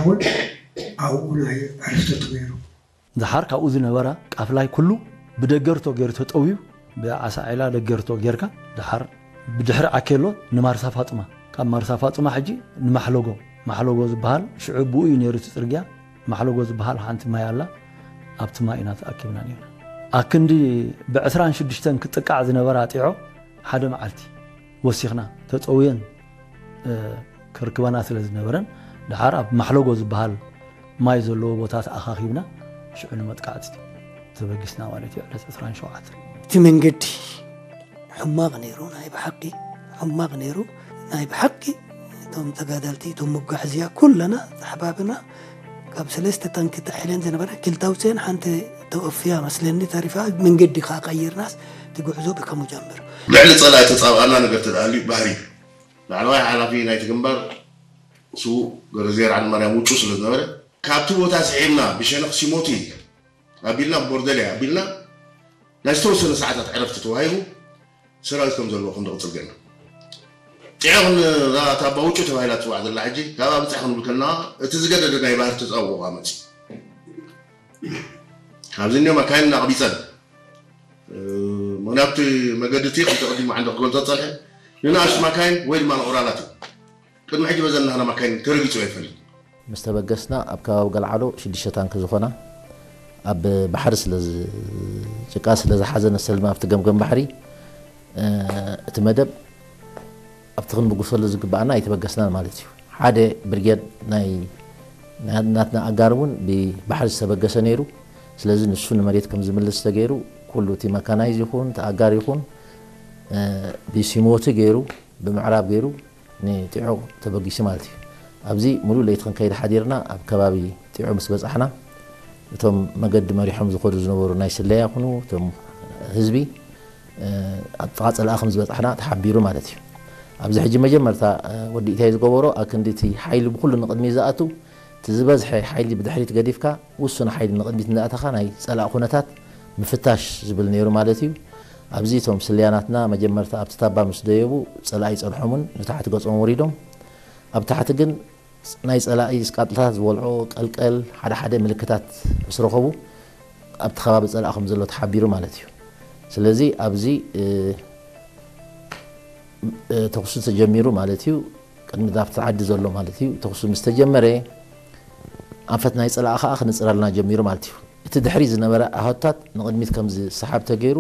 እውን ኣብኡ ናይ ዕረፍቲ ነይሩ። ደሓር ካብኡ ዝነበራ ቃፍላይ ኩሉ ብደገርቶ ገይሩ ተጠውዩ፣ ብዓሳ ዒላ ደገርቶ ጌርካ ደሓር ብድሕሪ ዓኬሎ ንማርሳ ፋጡማ፣ ካብ ማርሳ ፋጡማ ሕጂ ንማሕለጎ፣ ማሕለጎ ዝበሃል ሽዑ ብኡ እዩ ነይሩ እቲ ጽርግያ። ማሕለጎ ዝበሃል ሓንቲ ማይ ኣላ፣ ኣብቲ ማይ ኢና ተኣኪብና ነይርና። ኣክንዲ ብዕስራን ሽዱሽተን ክጥቃዕ ዝነበራ ጢዖ ሓደ መዓልቲ ወሲኽና ተጸውየን፣ እ፣ ክርክበና ስለ ዝነበረን፣ ደሓር ኣብ ማሕለጎ ዝበሃል ማይ ዘለዎ ቦታ ተኣኻኺብና ሽዑ ንመጥቃዕቲ ተበጊስና ማለት እዩ። ዕለት ዕስራን ሸውዓተን እቲ መንገዲ ሕማቕ ነይሩ፣ ናይ ብሓቂ ሕማቕ ነይሩ። ናይ ብሓቂ እቶም ተጋዳልቲ፣ እቶም መጓሕዝያ ኩለና ተሓባብና ካብ ሰለስተ ታንኪ ተሒለን ዝነበረ ክልተ ኣውፅአን ሓንቲ ተወፍያ መስለኒ ተሪፋ። መንገዲ ከዓ ቀይርናስ እቲ ጉዕዞ ብከሙ ጀምር። ልዕሊ ጸላኢ ተጻብኣና ነገር ተደኣልዩ ባህሪ ላዕለዋይ ሓላፊ ናይቲ ግንባር ስዉእ ገረዝየር ዓንድማርያም ውጩ ስለ ዝነበረ፣ ካብቲ ቦታ ስዒብና ብሸነኽ ሲሞቲ ኣቢልና፣ ቦርደልያ ኣቢልና ናይ ዝተወሰነ ሰዓታት ዕረፍቲ ተዋሂቡ ሰራዊት ከም ዘለዎ ክንዲ ቅጽል ገና ጢዖ ክንራታ ኣባ ውጩ ተባሂላ ትጽዋዕ ዘላ ሕጂ ካብ ኣብጻ ክንብል ከለና እቲ ዝገደደ ናይ ባህር ተጻውኦ መጽ ካብዚ እኒኦም ኣካይን እናቕቢጸን ምክንያቱ መገዲ እቲ ክልተ ቅድሚ ዓንዲ ክገልጾ ጸንሐ ንንኣሽቱ ማካይን ወይ ድማ ንኦራላት እዩ። ቅድሚ ሕጂ በዘን ናህና ማካይን ተረጊጹ ኣይፈልጥ። ምስ ተበገስና ኣብ ከባቢ ገልዓሎ ሽዱሽተ ታንክ ዝኾና ኣብ ባሕሪ ስለ ዝ- ጭቃ ስለ ዝሓዘ ነሰልማ ኣብቲ ገምገም ባሕሪ እ፣ እቲ መደብ ኣብቲ ክንብግሰሉ ዝግባኣና ኣይተበገስናን ማለት እዩ። ሓደ ብርጌድ ናይ ናይ ናትና ኣጋር እውን ብባሕሪ ዝተበገሰ ነይሩ። ስለዚ ንሱ ንመሬት ከም ዝምልስ ተገይሩ ኩሉ እቲ መካናይዝ ይኹን እቲ ኣጋር ይኹን እ፣ ብሲሞቲ ገይሩ ብምዕራብ ገይሩ ንጢዖ ተበጊሱ ማለት እዩ። ኣብዚ ሙሉእ ለይቲ ክንከይድ ሓዲርና ኣብ ከባቢ ጢዖ ምስ በጻሕና እቶም መገዲ መሪሖም ዝኸዱ ዝነበሩ ናይ ስለያ ይኹኑ እቶም ህዝቢ ኣብ ጥቓ ጸላኢ ከም ዝበጻሕና ተሓቢሩ ማለት እዩ። ኣብዚ ሕጂ መጀመርታ ወዲ ኢታይ ዝገበሮ ኣብ ክንዲ እቲ ሓይሊ ብኹሉ ንቕድሚት ዝኣቱ እቲ ዝበዝሐ ሓይሊ ብድሕሪት ገዲፍካ ውሱን ሓይሊ ንቕድሚት እንዳእተኻ ናይ ጸላኢ ኩነታት ምፍታሽ ዝብል ነይሩ ማለት እዩ። ኣብዚ እቶም ስለያናትና መጀመርታ ኣብቲ ታባ ምስ ደየቡ ጸላኢ ጸንሖምን ንታሕቲ ገጾም ወሪዶም ኣብ ታሕቲ ግን ናይ ጸላኢ ስቃጥልታት ዝበልዖ ቀልቀል ሓደ ሓደ ምልክታት ምስ ረኸቡ ኣብቲ ከባቢ ጸላኢ ከም ዘሎ ተሓቢሩ ማለት እዩ። ስለዚ ኣብዚ እ፣ እ፣ ተኹሲ ተጀሚሩ ማለት እዩ። ቅድሚ ኣብቲ ዓዲ ዘሎ ማለት እዩ። ተኹሲ ምስ ተጀመረ ኣንፈት ናይ ጸላኢ ከዓ ክንጽረልና ጀሚሩ ማለት እዩ። እቲ ድሕሪ ዝነበረ ኣሃዱታት ንቕድሚት ከም ዝሰሓብ ተገይሩ